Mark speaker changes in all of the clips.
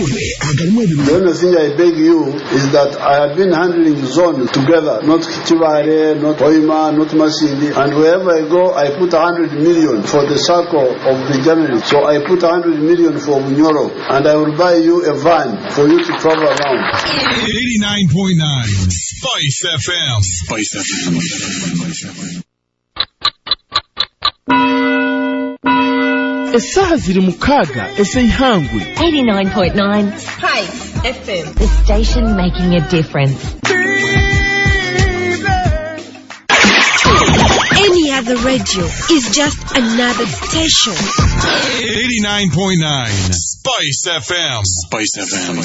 Speaker 1: Amahurre agarimu ebirungi.
Speaker 2: The only thing I beg you is that I have been handling zones together, not Kichibare, not Hoima, not Masindi, and wherever I go, I put 100 million for the circle of the journalists. So I put 100 million for Bunyoro, and I will buy you a van for you to travel around.
Speaker 3: 89.9 Spice FM. Spice FM.
Speaker 4: Essaaha ziri 6 ez'eihangwe.
Speaker 5: 89.9
Speaker 6: Spice FM.
Speaker 5: The station making a difference.
Speaker 7: Any other radio is just another station.
Speaker 3: 89.9 Spice FM. Spice FM.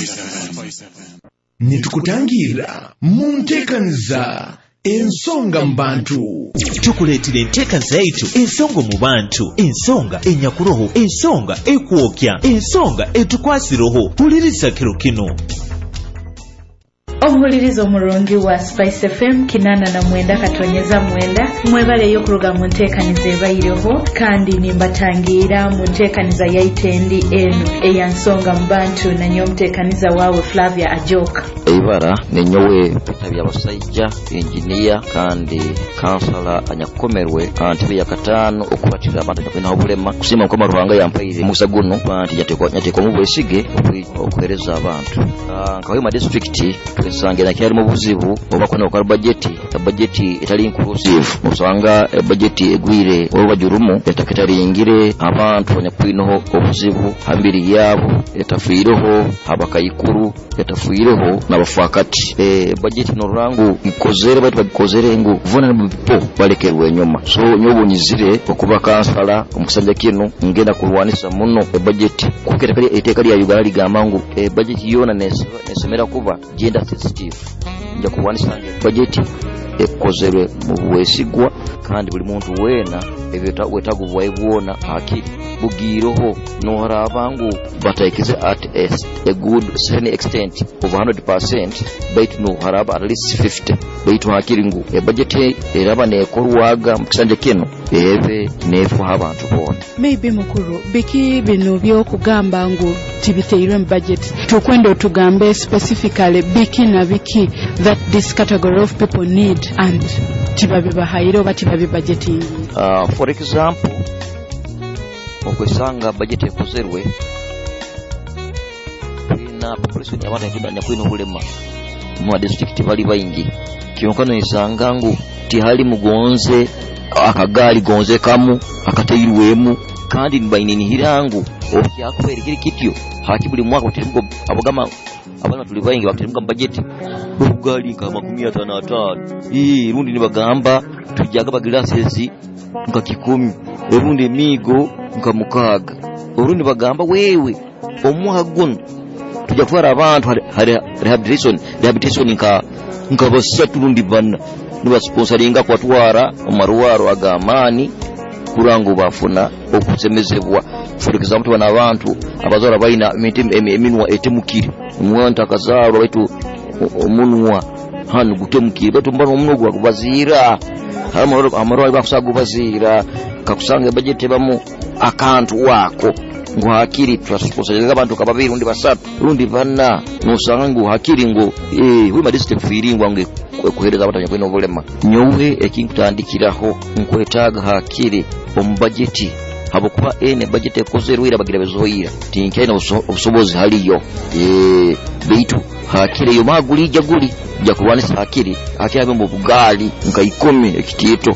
Speaker 4: Nitukutangira mu nteekaniza Ensonga mu Bantu.
Speaker 8: Tukuleetera enteekaniza yaitu Ensonga mu Bantu, ensonga enyakuroho, ensonga ekwokya, ensonga etukwasiroho. Huliriza kiro kino.
Speaker 9: Omuhuliriza omurungi wa Spice FM 89.9, mwebaleyo okuruga mu nteekaniza ebaireho, kandi nimbatangira mu nteekaniza yaitendi eno eya Nsonga mu Bantu, nanyo omuteekaniza waawe Flavia Ajoka.
Speaker 10: Eibara nenyowe Peter Byabasaija, engineer kandi kansala anyakukomerwe antebe ya 5 okubatira abantu nyakwina obulema. Kusiima Mukama Ruhanga yampaire omukisa guno nti nyateekwamu obwesige okuheereza abantu. Nka Hoima district twesangira kyalimu obuzibu oba kwena okwa budget, budget etali inclusive. Osanga budget egwire olubaju rumu ettaka etaringire abantu abanyakwinaho obuzibu ha mibiri yabo, etafiireho abakaikuru, etafiireho n'abafaakati. Budget norurangu ikozere baitu bagikozere ngu vulnerable people balekerwe enyuma. So nyowe nyizire okuba kansala omu kisanja kinu, ngenda kurwanisa muno ebudget, kuko etteeka lya Uganda ligamba ngu ebudget yoona nesemera kuba gender sensitive. Nja kurwanisa ngu budget ekozerwe mu bwesigwa kandi buli muntu weena obwetaago bwawe bwona akiri bugiireho, noharaba ngu bataikirize at a good certain extent of 100%, baitu noharaba at least 50, baitu hakiri ngu ebudget eraba nekorwaga mu kisanja kinu ebe nefuha abantu boona.
Speaker 9: Maybe mukuru, biki bino byokugamba ngu tibiteirwe mu budget? Tukwenda otugambe specifically biki na biki that this category of people need and tibabibahaire oba tibabibudgeting.
Speaker 10: For example, okwesanga budget ekozerwe tulina population y'abantu nyakwina obulema mu district bali baingi, kyonka noyesanga ngu tihali mugonze akagaali gonze kamu akateirwemu, kandi nibainihira ngu okyakubeera kiri kityo haki buli mwaka bateremuka abagamba abaana tuli baingi bateremuka mu budget obugaali nka 55, rundi nibagamba tujaga baglasses nka 10, erundi emiigo nka 6, orundi bagamba wewe omwaka guno tujja kutwara abantu rehabilitation nka 3 rundi 4, nibasponsoringa kubatwara mu marwaro ag'amaani kurango bafuna okusemezebwa. For example, tubona abantu abazarwa balina eminwa etemukire, omwana akazarwa baitu omunwa hanu gutemukire, baitu mbona omunwa gwagubaziira, amarwaro bakusaga gubaziira, kakusanga budget ebamu akantu wako ngu hakiri twasponsoringa abantu ka 2 rundi 3 rundi 4, nosanga ngu hakiri ngu Hoima district firingwa ngu kuhereza abantu nyakwina obulema. Nyowe ekinkutandikiraho nkwetaaga hakiri omu budget, habwokuba ene budget ekozerwe ira bagira bezoyira tinkaina obusobozi haliyo, baitu hakiri eyo maguli guli ja kurwanisa hakiri hakiri abe mu bugaali nka 10 ekitiito,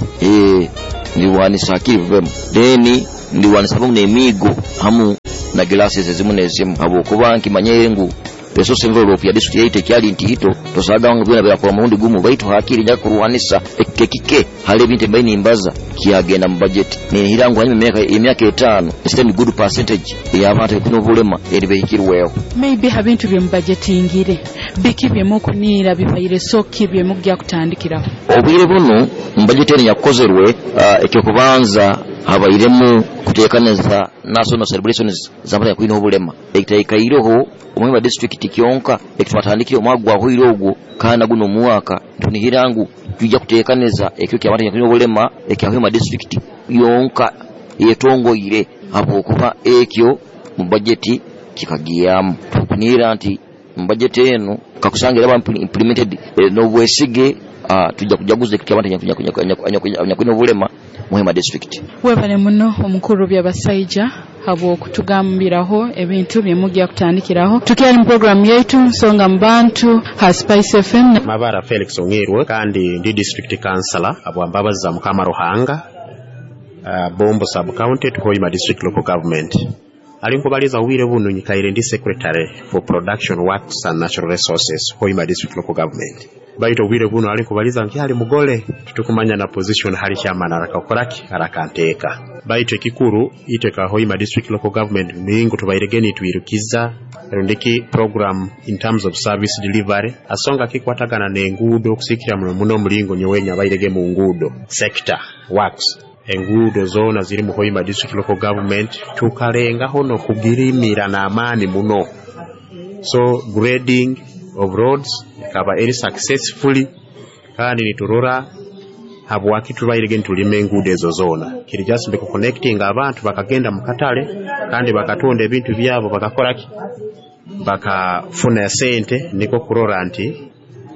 Speaker 10: ndiwanisa hakiri bubemu, then ndiwanisa hamu n'emiigo hamu na glasses ezimu n'ezimu, habwokuba nkimanyire ngu resource envelope ya district yaitu ekyali ntiito, tosaga ngu byona byakora murundi gumu, baitu hakiri nja kurwanisa ekikeke hali ebintu ebibaire nimbaza kyagenda mu budget. Nihira ngu hanyuma emyaka 5 a good percentage ey'abantu abalina obulema eribehikirweho.
Speaker 9: Maybe ha bintu bye mubudgetingire biki bye mukuniira bibaire so ki bye mujja kutandikiraho?
Speaker 10: Obwire buno mu budget eno yakozerwe, ekyokubanza habairemu kuteekaniza national celebrations z'abantu abalina obulema ekitaikaireho omwe wa district kyonka ekitwatandikire omwaka gwahoire ogwo, kandi guno omwaka tunihira ngu tujja kuteekaniza ekyo ky'abantu abalina obulema ekya Hoima district yonka yetongoire, habwokuba ekyo mu budget Kikagiyamu tukuniira nti mu budget eno kakusanga era implemented n'obwesige, tujja kujaguza ekyo abantu anyakulina obulema mu Hoima district.
Speaker 9: Webale muno omukuru Byabasaija habw'okutugambiraho ebintu byemujja kutandikiraho. Tukyali mu program yaitu Nsonga mu Bantu ha Spice FM.
Speaker 1: Mabara Felix Ong'erwe, kandi ndi district councillor abwambabazi za Mukama Ruhanga, Bombo sub county, Hoima district local government. Ali nkubaliza wire bunu nyikaire ndi secretary for production works and natural resources, Hoima district local government. Baito wire bunu ali nkubaliza nkyali mugole tutukumanya na position hali chairman arakakoraki arakanteka. Baito ekikuru iteka Hoima district local government mingu tubairegeni tuirukiza rundiki program in terms of service delivery asonga kikwatagana n'enguudo kusikira muno muno mulingo nyowenya bairege mu nguudo sector works. Enguudo zona ziri mu Hoima district local government tukalengaho nokugirimira n'amaani muno. So grading of roads ikaba eri successfully, kandi niturora habwaki tubairege nitulima enguudo ezo zona. Kiri just be connecting abantu bakagenda mu katale kandi bakatonda ebintu byabo bakakoraki bakafuna sente, niko kurora nti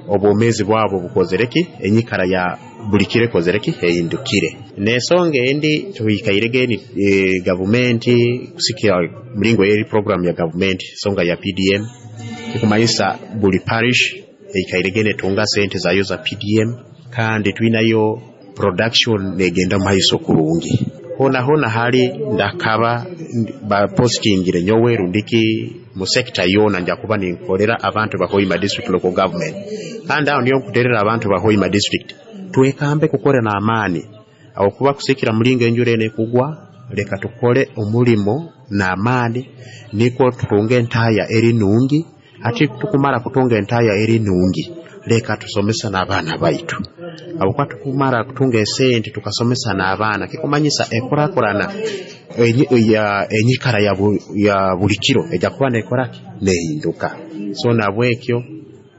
Speaker 1: obwomezi bwabo bukozereki, enyikara ya buli kiro ekozereki ehindukire. N'ensonga endi tuhikairege ni gavumenti kusikira mulingo eri program ya gavumenti songa ya PDM ikumanyisa buli parish eikairege netunga sente zayo za PDM, kandi twinayo production negenda maiso kurungi. Hona hona hali ndakaba ba postingire nyowe rundiki mu sector yona nja kuba ninkolera abantu ba Hoima district local government. Kandi aho niyo nkuterera abantu ba Hoima district twekambe kukore na amani aho kuba kusikira mulingo enjure ene kugwa, leka tukole omulimo na amani niko tutunge entaya eri nungi. Ati tukumara kutunga entaya eri nungi, leka tusomesa n'abaana baitu. Abo kwa tukumara kutunga esente tukasomesa n'abaana kikumanyisa ekurakurana enyikara ya buli kiro ejja kuba nekoraki nehinduka. So nabwekyo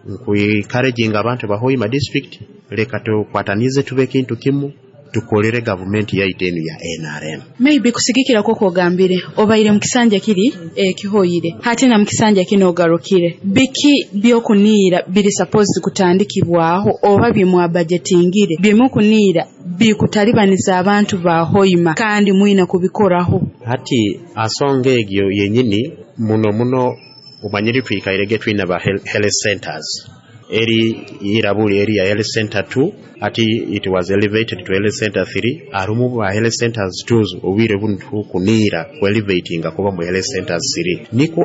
Speaker 1: nkuencouraginga abantu ba Hoima district, leka tukwatanize tube kintu kimu tukolere gavumenti yaitu enu ya NRM.
Speaker 9: Maybe kusigikira koko ogambire obaire mu kisanja kiri ekihoyire hati na mu kisanja kino ogarukire, biki byokuniira biri supposed kutandikibwaho oba bimwa budgetingire byemukuniira bikutalibaniza abantu ba Hoima kandi mwina kubikoraho?
Speaker 1: Hati asonga egyo yenyini muno muno umanyiri twikairege twina ba health centers eri irabuli eri ya health center 2, ati it was elevated to health center 3. Arumu ba health centers 2 obwire buntu kunira ku elevating kuba mu health centers 3 niko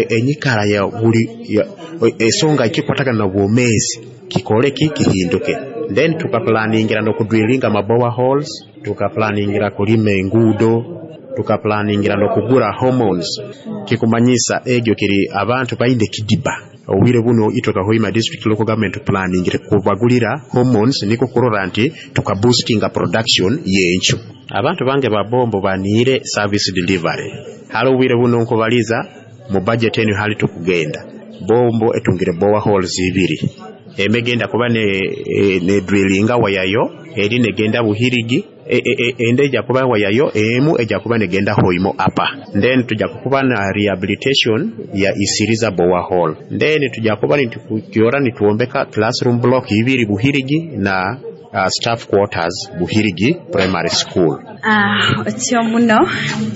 Speaker 1: enyikara ya buli esonga ikikwatagana na bwomezi kikole kihinduke. Then tukaplaningira no kudrillinga mabowa holes, tukaplaningira kulima enguudo, tukaplaningira no kugura hormones kikumanyisa egyo kiri abantu bainde kidiba. Obwire buno itoka Hoima district local government planning kubagulira hormones niko kurora nti tukaboostinga production yenchu. Abantu bange babombo banire service delivery. Halo obwire buno nkubaliza mu budget enu hali tukugenda bombo etungire bowa holes ibiri emegenda kuba ne drillinga wayayo eri negenda Buhirigi, ende ejja kuba wayayo emu ejja kuba negenda Hoima apa. Then tujja kuba na rehabilitation ya Isiriza bowa hall. Then tujja kuba nitukiora nituombeka classroom block ibiri Buhirigi na staff quarters Buhirigi primary school.
Speaker 6: Otyo muno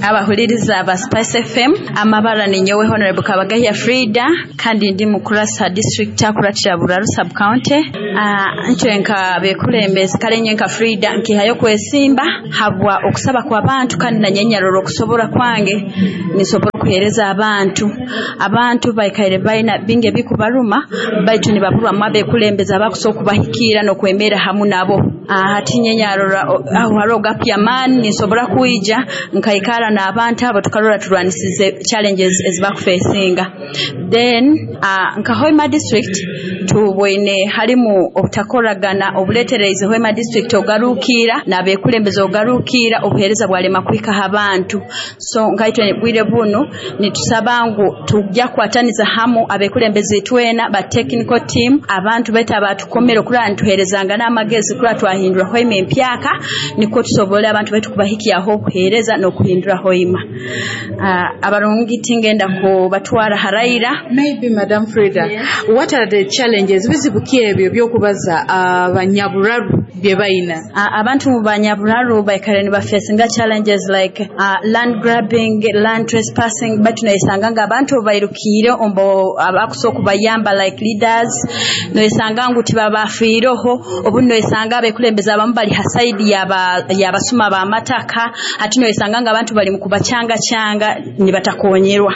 Speaker 6: abahuliriza aba Spice FM, amabara ni nyowe Honorable Kabagahya Frida, kandi ndi mukurasa district akuratira Buraru sub county. Ntwe nka bekulembezi kale nye nka Frida nkihayo kwesimba habwa okusaba kwa bantu, kandi na nyenyaroro okusobora kwange nisobora kuhereza abantu. Abantu baikaire baina binge bikubaruma baitu nibaburwa mwabe kulembeza abakusobola kubahikira nokwemera hamu nabo. Hati nyenyarora aho haro gap ya man nisobora kuija nkaikara na abantu abo tukarora turwanisize challenges ezibakufacinga. Then nka Hoima district tubwene halimu obutakoragana obuletereze Hoima district ogarukira nabekulembeza ogarukira obuhereza bwalema kuhika abantu. So nkaitwe bwire buno nitusaba ngu tujja kwataniza hamu abekulembeze twena ba technical team abantu beta abatukomero kura ntuherezanga n'amagezi kura Twahindura Hoima empyaka, nikwo tusobole abantu baitu kubahikyaho obuheereza n'okuhindura Hoima. Abarungi tingenda kubatwara haraira.
Speaker 9: Maybe Madam Frida, what are the challenges, bizibu ki ebyo byokubaza abanyaburaru bye bayina?
Speaker 6: Abantu banyaburaru baikare nibafacinga challenges like land grabbing, land trespassing, baitu noyesanga nga abantu bairukiire ombo abakusobola okubayamba like leaders, noyesanga ngu tibabafiireho. Obundi noyesanga abekulembeze abamu bali ha side y'abasuma b'amataka, ati noyesanga nga abantu bali mu kubacyangacanga nibatakonyerwa.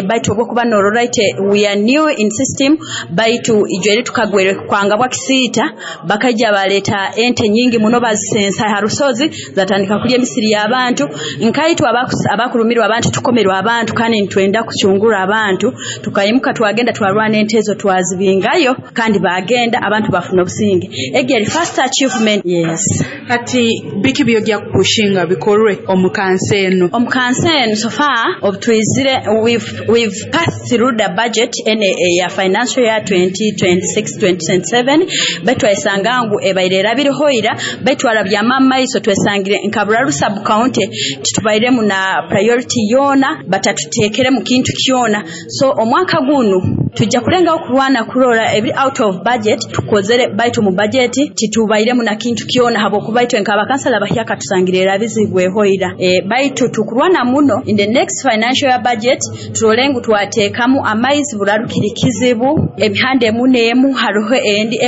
Speaker 6: Baitu obwokuba norora ite we are new in system, baitu ijo eri tukagwere kwanga bwa kisiita bakaija baleeta ente nyingi muno bazisensa ha rusozi zatandika kulya emisiri y'abantu. Nkaitu abakurumirwa abantu tukomerwa abantu kandi nitwenda kucungura abantu, tukayimuka twagenda twarwana ente ezo twazibingayo kandi bagenda abantu bafuna obusinge. Egi first achievement. Yes.
Speaker 9: Kati biki byojja kupushinga bikorwe omu kansi eno?
Speaker 6: Omu kansi eno so far obutwizire we've passed through the budget ene ya financial year 2026-2027, baitu twesanga ngu ebaire erabiriho ira, baitu twarabyama amaiso twesangire nka Buraru sub county titubairemu na priority yoona, batatuteekere mu kintu kyona. So omwaka gunu tujja kulengaho kurwana kurora ebiri out of budget tukozere, baitu mu budget titubairemu na kintu kyona habwokuba itwe nk'abakansala bahyaka tusangire erabizibweho ira. Baitu tukurwana muno in the next financial year budget turole ngu twateekamu amaizi. Buraru kiri kizibu, emihanda emu n'emu hariho endi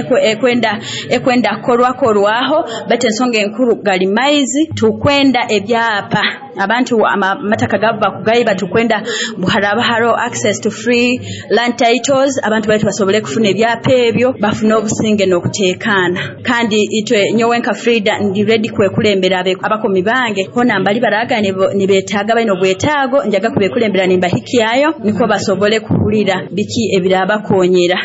Speaker 6: ekwenda korwakorwaho, baitu ensonga enkuru gali maizi. Tukwenda ebyapa, abantu amataka gabo bakugayiba, tukwenda haraba hariho access to free land titles, abantu baitu basobole kufuna ebyapa ebyo bafune obusinge n'okuteekaana. Kandi itwe nyowe nka Frida ndi ready kwekulembera abakomi bange hona mbali baraga nibetaaga balina obwetaago, njaga kubekulembera nimbahikyayo nikwo basobole kuhulira biki ebirabakonyera.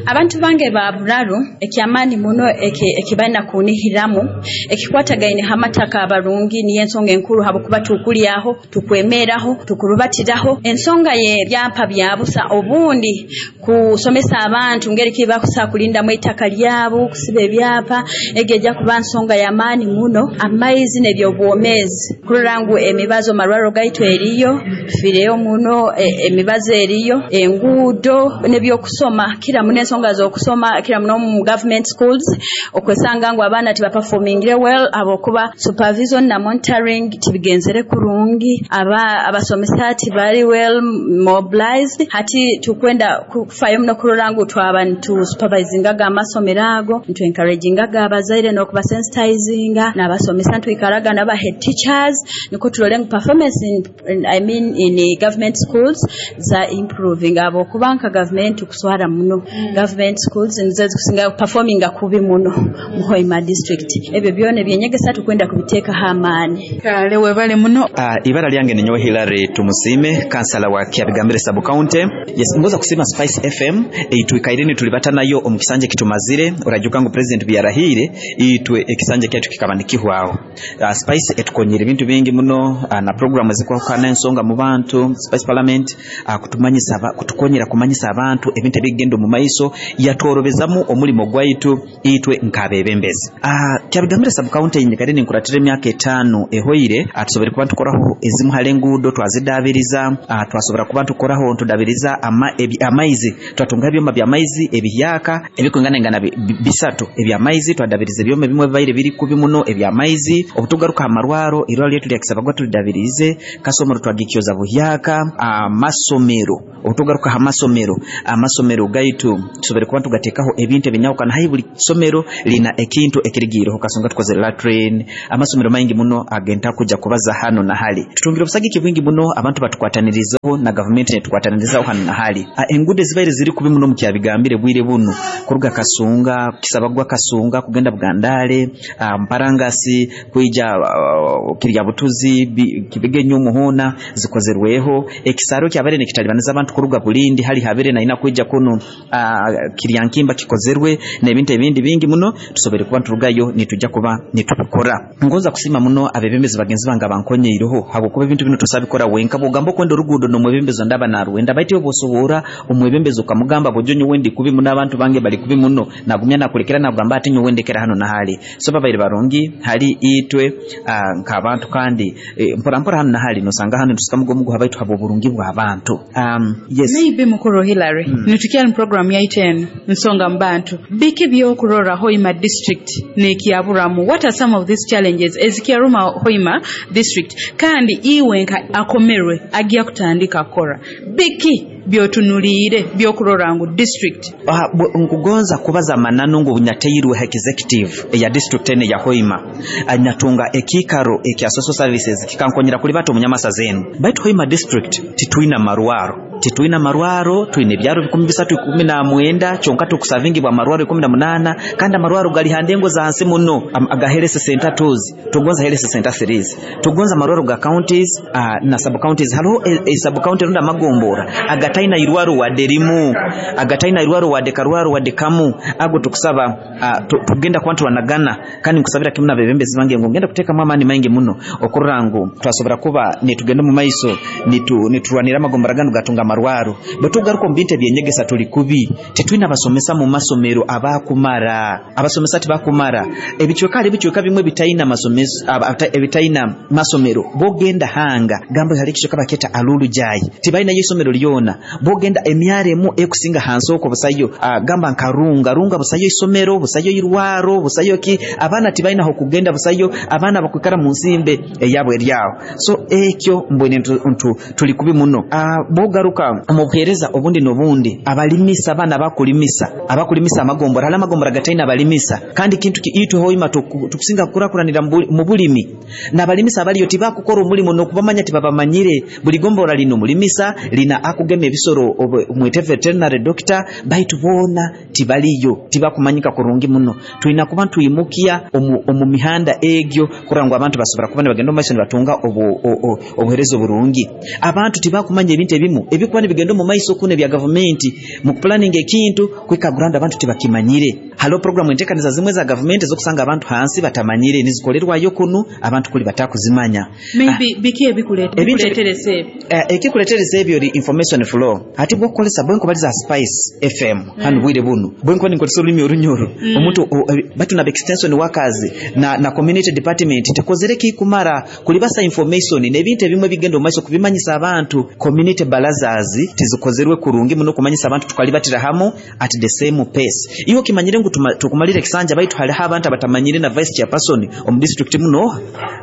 Speaker 6: Abantu bange ba Buraru ekyamaani muno ekibalina kunihiramu ekikwatagaine hamataka abarungi niyo ensonga enkuru, habwokuba tukulyaho, tukwemeraho, tukurubatiraho ensonga y'ebyapa bya busa, obundi kusomesa abantu ngeri kibakusa kulindamu eitaka lyabo, kusiba ebyapa, egi ejja kuba nsonga y'amaani muno. Amaizi n'ebyobwomeezi, kurora ngu emibazo marwaro gaitu eriyo, tufiireyo muno, emibazo eriyo, enguudo n'ebyokusoma, kira muno ensonga z'okusoma, kira muno mu government schools okwesanga ngu abaana tibaperformingire well habwokuba supervision na monitoring tibigenzere kurungi, abasomesa tibali well mobilized. Hati tukwenda kufayo muno kurora ngu twaba nitusupervisingaga amasomero ago, nitu encouragingaga abazaire n'okubasensitizinga n'abasomesa, ntwikaraga n'aba head teachers nikwo turole ngu performance in, I mean in government schools za improving, habwokuba nka government kuswara muno government schools nizo zikusinga performinga kubi muno mu Hoima district. Ebyo byona ebyenyegesa tukwenda kubiteekaho amaani.
Speaker 9: Kale webale muno.
Speaker 11: Ibara lyange ni nyowe Hilary Tumusime, kansala wa Kyabigambire sub county. Yes, ngoza kusima Spice FM itwikaire nitulibata nayo omu kisanja kitumazire. Orajuka ngu president byarahire itwe ekisanja kyaitu kikaba nikihwaho. Spice etukonyera ebintu bingi muno, na programu ezikwahukana ensonga mu bantu, Spice Parliament, kutumanyisa kutukonyera kumanyisa abantu ebintu ebigenda omu maiso, yatworobezamu omulimo gwaitu itwe nk'abebembezi. Kyabigambire sub county nyikare ninkuratira emyaka 5 ehoire, tusobore kuba tukoraho ezimu hali enguudo twazidabiriza, twasobora kuba tukoraho ntudabiriza amaizi, twatunga ebyoma by'amaizi ebihyaka ebikwingana bisatu eby'amaizi, twadabiriza ebyoma ebimwe bibaire biri kubi muno eby'amaizi. Obutugaruka amarwaro, irwaro lyetu lya Kisabagwa tulidabirize, kasomero twagikyoza buhyaka, amasomero, obutugaruka amasomero, amasomero gaitu tusobore kuba tugateekaho ebintu ebinyahukana, hai buli somero lina ekintu ekirigiireho, kasonga tukoze latrine, amasomero maingi muno agenta kuja kubaza hano na hali. Tutungire obusagiki bwingi muno, abantu batukwatanirizaho na gavumenti netukwatanirizaho hano na hali. Enguudo ezibaire ziri kubi muno mu Kyabigambire bwire buno, kuruga Kasunga, Kisabagwa Kasunga, kugenda Bugandale, Mparangasi, kwija Kirya Butuzi, Kibigenyo Muhona, zikozerweho. Ekisaro kyabere nekitalibaniza abantu kuruga Bulindi hali habere na ina kwija kuno, Kiryankimba kikozerwe n'ebintu ebindi bingi muno tusobere kuba turugayo nitujja kuba nitubikora. Ngoza kusima muno abebembezi bagenzi bange abanko bankonyeireho, habwokuba ebintu binu tosabikora wenka. Bwogamba okwenda oruguudo n'omwebembezi ondaba narwenda, baitu iwe bwosoboora omwebembezi okamugamba, bojo nyowe ndi kubi muno, abantu bange bali kubi muno, nagumya nakulekera nagamba ati nyowe ndekera hano nahali. So babaire barungi hali itwe nk'abantu, kandi mpora mpora hano nahali nosanga hano nitusikamuga omuguha baitu habw'oburungi bw'abantu. Yes.
Speaker 9: Maybe mukuru Hillary, nitukyali mu program yaitu eno nsonga mu bantu, biki byokurora Hoima district nekyaburamu? What are some of these challenges ezikyaruma Hoima district? Kandi iwe nka akomerwe agya kutandika kukora, biki byotunuliire byokurora ngu district?
Speaker 11: Nkugonza kubaza mananu ngu nyateirwe executive eya district ene ya Hoima, natunga ekiikaro ekya social services kikankonyera kulibata omunyamasaza enu. Baitu Hoima district titwina marwaro, titwina marwaro, twine ebyaro 319, kyonka tukusavingibwa amarwaro 18, kandi amarwaro gali handengo za hansi muno, aga health center 2s, tugonza health center 3s, tugonza amarwaro ga counties na sub counties. Hariho sub county runda amagombora agataina irwaro wadde rimu, agataina irwaro wadde karwaro wadde kamu. Ago tukusaba tugenda kuba turanagana, kandi nkusabira kimu n'abebembezi bange ngu ngenda kuteekamu amaani maingi muno okurora ngu twasobora kuba nitugenda omu maiso, niturwanira amagombora ganu gatunga amarwaro. Bwe tugaruka omu bintu ebyenyegesa tuli kubi, titwina abasomesa mu masomero abakumara, abasomesa tibakumara. Ebicweka hali ebicweka bimwe bitaina masomesa, ebitaina masomero. Bogenda hanga gamba hali ekicweka baketa Alulu Jai, tibalinayo isomero lyona. Bogenda emyaro emu ekusinga hansi okwo busayo, gamba nka Runga, Runga busayo isomero, busayo irwaro, busayo ki, abaana tibalinaho kugenda, busayo abaana bakwikara mu nsimbe eyabo eryaho. So ekyo mbwene ntu tuli kubi muno. Bogaruka omu buheereza obundi n'obundi, abalimisa, abaana abakulimisa amagombora, hali amagombora gataina abalimisa, kandi kintu ki itwe Hoima tukusinga kukurakuranira mu bulimi, n'abalimisa abaliyo tibakukora omulimu n'okubamanya tibabamanyire. Buli gombora lino mulimisa lina akugema ebisoro, mwete veterinary doctor, baitu boona tibaliyo, tibakumanyika kurungi muno. Twina kuba ntwimukia omu mihanda egyo kurora ngu abantu basobora kuba nibagenda omu maiso nibatunga obuheereza oburungi. Abantu tibakumanya ebintu ebimu ebikuba nibigenda omu maiso kuno ebya gavumenti mu kupulaninga ekintu kwika ground, abantu tibakimanyire. Haliho programu enteekaniza zimwe za gavumenti ezokusanga abantu hansi batamanyire, nizikolerwayo kunu abantu kuli batakuzimanya.
Speaker 9: Maybe biki ebikuletereza ebyo?
Speaker 11: Ekikuletereza ebyo ri information flow. Ati bwokukolesa bwenkubaliza Spice FM hano bwire buno, bwenkuba ninkozesa olulimi orunyoro, omuntu batu na extension workers na community department tekozere kikumara kulibasa information n'ebintu ebimwe bigenda omu maiso kubimanyisa abantu. Community barazas tizikozerwe kurungi muno kumanyisa abantu tukalibatira hamu at the same pace. Iwe kimanyire ngu tukumalira ekisanja, baitu haliho abantu abatamanyire na vice chairperson omu district muno.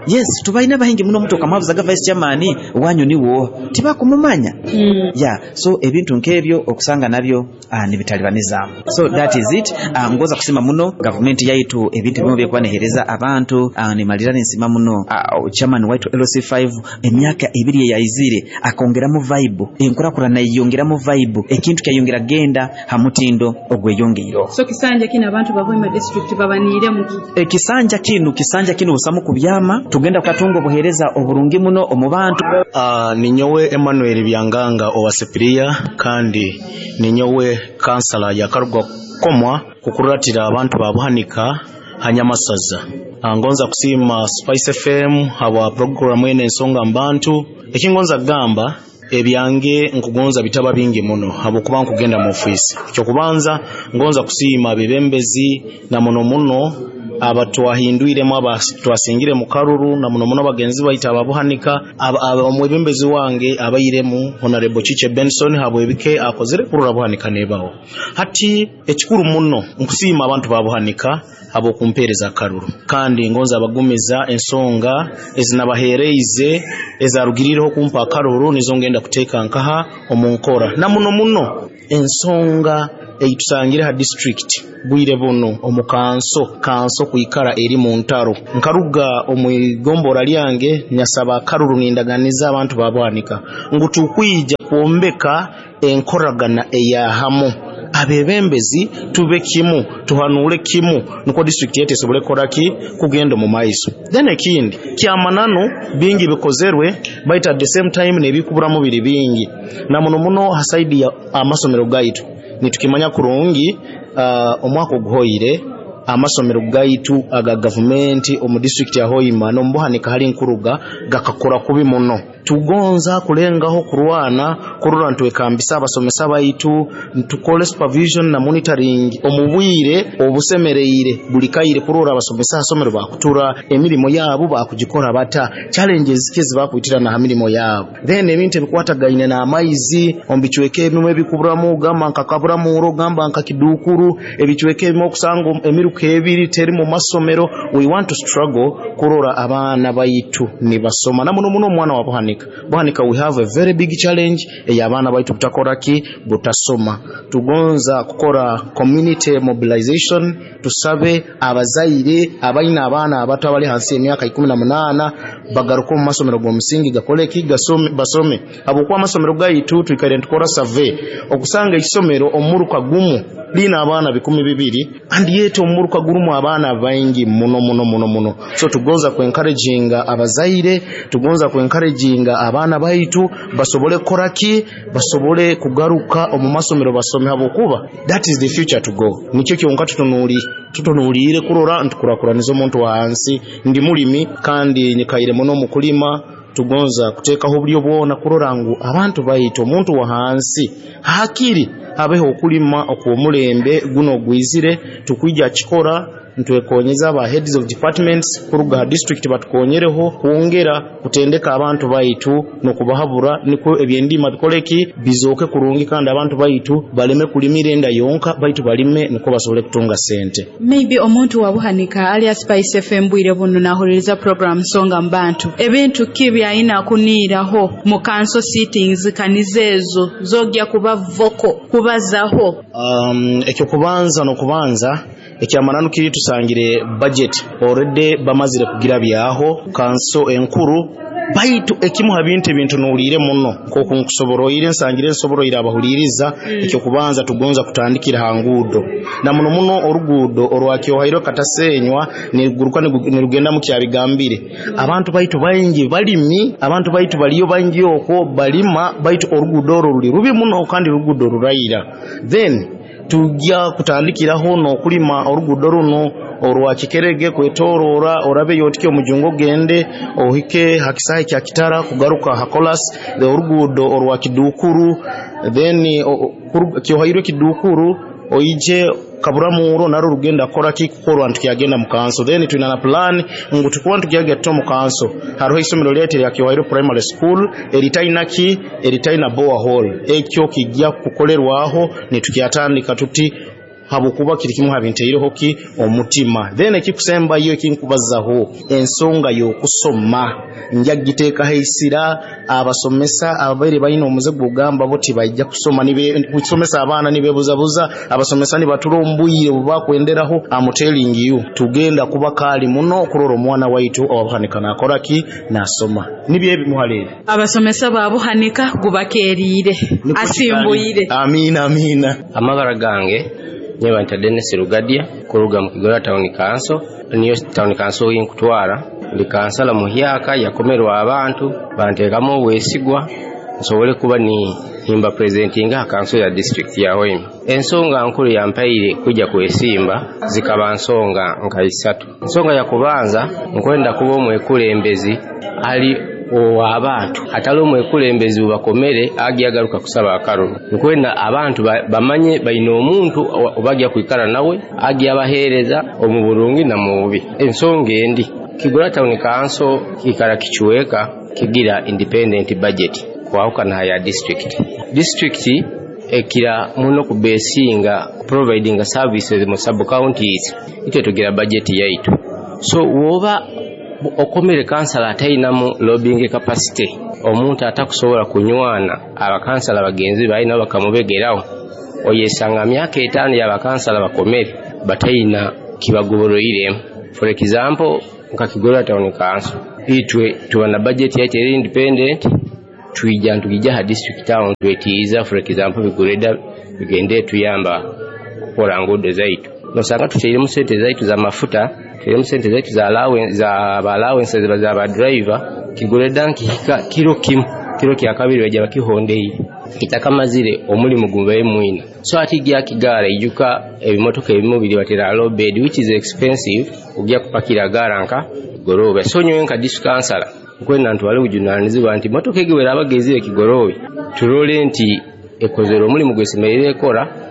Speaker 11: Yes, tubalina bahingi muno, omuntu okamwabuzaga vice chairman wanyu niwo tibakumumanya. Yeah, so ebintu nk'ebyo okusanga nabyo nibitalibaniza. So that is it. Ngoza kusima muno gavumenti yaitu ebintu bimwe byekuba nehereza abantu. Nimalira ninsima muno chairman waitu LC5, emyaka 2 eyaizire akongeramu vibe, enkurakurana yeyongeramu vibe, ekintu kyayongera genda ha mutindo ogweyongeiro.
Speaker 9: So kisanja kino abantu ba Hoima district babaniire muki?
Speaker 11: Ekisanja kinu, kisanja kinu busamu kubyama, tugenda kukatunga obuhereza oburungi muno omu bantu.
Speaker 12: Ninyowe Emmanuel Byanganga owa Sepiria, kandi ninyowe kansala yakarugwa komwa kukuratira abantu babuhanika hanyamasaza. Ngonza kusiima Spice FM habwa programu ene ensonga mbantu. Ekingonza kugamba ebyange nkugonza bitaba bingi muno habwokuba nkugenda mu ofisi. Ekyokubanza ngonza kusiima abebembezi na muno muno abatwahindwiremu, abatwasingire mu karuru, na muno muno bagenzi baitu ababuhanika, omwebembezi wange abairemu Honorable Chiche Benson habwebike akozere kurura buhanika nebaho. Hati ekikuru muno nkusiima abantu babuhanika habwokumpereza karuru, kandi ngonza abagumiza ensonga ezinabahereize ezarugirireho kumpa akaruru, nizo ngenda kuteeka nkaha omu nkora, na muno muno ensonga eitusangire ha district bwire buno omu kanso kwikara eri mu ntaro. Nkaruga omu igombora lyange nyasaba akaruru, nindaganiza abantu babwanika ngu tukwija kwombeka enkoragana eyahamu, abebembezi tube kimu, tuhanule kimu, nukwo district yetu esobole kukoraki kugenda omu maiso. Then ekindi kyamananu bingi bikozerwe, but at the same time nebikuburamu biri bingi, na muno muno ha side ya amasomero gaitu nitukimanya kurungi. Omwaka oguhoire Amasomero gaitu aga gavumenti omu disitulikiti ya Hoima n'omu Buhanika hali nkuruga gakakora kubi muno. Tugonza kulengaho kurwana kurora ntwekambisa abasomesa baitu, tukole supervision na monitoring omu bwire obusemereire buli kaire kurora abasomesa ha somero bakutura emirimu yabo bakugikora bata, challenges ki ezibakwitirana ha mirimo yabo. Then ebintu ebikwatagaine n'amaizi omu bicweka ebimu ebikuburamu, gamba nka Kaburamuro, gamba nka Kidukuru, ebicweka ebimu okusanga emiruka ebiri teri mu masomero. We want to struggle kurora abaana baitu nibasoma, na muno muno omwana wa Buhanika. Buhanika we have a very big challenge ey'abaana baitu butakora ki, butasoma. Tugonza kukora community mobilization, tusabe abazaire abaina abaana abato abali hansi y'emyaka 18 bagaruke omu masomero g'omusingi gakole ki, gasome, basome, habwokuba amasomero gaitu twikaire nitukora survey okusanga ekisomero omuruka gumu liina abaana 2,000 and yet omuruka gurumu abaana baingi muno muno muno muno. So tugonza ku-encouraginga abazaire, tugonza ku-encouraginga abaana baitu basobole kukora ki, basobole kugaruka omu masomero basome, habwokuba that is the future to go. Nikyo kyonka tutunuliire kurora ntukurakuraniza omuntu wa hansi. Ndi mulimi kandi nyikaire muno mu kulima. Tugonza kuteekaho obulyo bwona kurora ngu abantu baitu, omuntu wa hansi, hakiri habeho okulima okw'omulembe guno ogwizire. Tukwija kikora ntwekonyeza aba heads of departments kuruga ha district batukonyereho kwongera kutendeka abantu baitu n'okubahabura, nikwo ebyendima bikoleki, bizooke kurungi, kandi abantu baitu baleme kulimira enda yonka, baitu balime nikwo basobole kutunga sente.
Speaker 9: Maybe omuntu wa Buhanika ali Spice FM bwire buno nahuliriza program Nsonga mu Bantu, ebintu ki byayina kuniiraho mu council sittings kaniza ezo zogya kuba vocal kubazaho?
Speaker 12: Ekyokubanza n'okubanza ekyamananu kiri tusangire budget already bamazire kugira byaho kanso enkuru, baitu ekimu ha bintu ebintunuliire muno nk'oku nkusoboroire nsangire nsoboroire abahuliriza, ekyokubanza tugonza kutandikira ha nguudo, na muno muno oruguudo orwa Kyohairwe Katasenywa niguruka nirugenda mu Kyabigambire. Abantu baitu baingi balimi, abantu baitu baliyo baingi okwo balima, baitu oruguudo orwo ruli rubi muno kandi oruguudo ruraira. Then tujja kutandikiraho n'okulima oruguudo runo orwa Kikerege kwetorora orabe yotike omujungo ogende ohike ha kisaayi kya Kitara kugaruka ha Kolas, the oruguudo orwa Kidukuru, then Kyohairwe Kidukuru oije Kaburamuro, naro rugenda kukora ki, kukorwa ntukyagenda mu kanso. Then twina na plan ngu tukuba ntukyagenda mu kanso, hariho isomero lyaitu erya Kyohairwe Primary School eritaina ki, eritaina borehole. Ekyo kijja kukolerwaho nitukyatandika tuti, habwokuba kiri kimu habinteireho ki omutima. Then ekikusembayo ekinkubazaho, ensonga y'okusoma nja kugiteekaho eisira. Abasomesa ababaire balina omuze gwogamba bo tibaija kusoma, kusomesa abaana nibebuzabuza, abasomesa nibatura omu bwire obubakwenderaho, am telling you, tugenda kuba kaali muno kurora omwana waitu owabuhanika nakora ki, nasoma. Nibyo ebimu hali ebi.
Speaker 9: Abasomesa ba Buhanika gubakeeriire asimbuyire.
Speaker 12: Amiina, amiina.
Speaker 13: Amabara gange nyebanta Dennis Rugadia kuruga mu Kigorora Town Council, niyo town council yinkutwara. Ndi kansala muhyaka yakomerwa abantu banteekamu obwesigwa nsobole kuba ni nimba presentinga ha council ya district ya Hoima. Ensonga nkuru yampaire kujja kwesimba zikaba nsonga nka isatu. Ensonga ya kubanza, nkwenda kuba omwekulembezi ali ow'abantu, atali omwekulembezi ubakomere agya agaruka kusaba akaruru. Nkwenda abantu bamanye baine omuntu obagya kwikara nawe agya abaheereza omu burungi na mu bubi. Ensonga endi, Kigorora Town Council kikara kichweka kigira independent budget kwahukana ya district. District ekira muno kubesinga providing services mu sub counties, itwe tugira budget yaitu. So woba okomere kansala atainamu lobbying capacity, omuntu atakusobola kunywana abakansala bagenzi balina bakamubegeraho, oyesanga myaka 5 y'abakansala bakomere bataina kibagoboroiremu. For example, nka Kigorora Town Council itwe tuba na budget yaitu eri independent, twija ntugija ha district town twetiiza, for example bigureda bigende tuyamba kukola nguudo zaitu, nosanga tuteiremu sente zaitu za mafuta, tuteiremu sente zaitu za allowance, za ba allowances za ba driver. Kigureda nkihika kiro kimu, kiro kya kabiri bajja bakihondeye. Kitakamazire omulimu gubaire mwina. So ati gya kigaara ijuka ebimotoka ebimu biri batera low bed, which is expensive, ojja kupakira gaara nka Kigoroobe. So nyowe nka district councilor nkwenda ntwale obujunanizibwa nti motoka egi bwerabaga ezire Kigoroobe, turole nti ekozere omulimu gwesemerire ekora.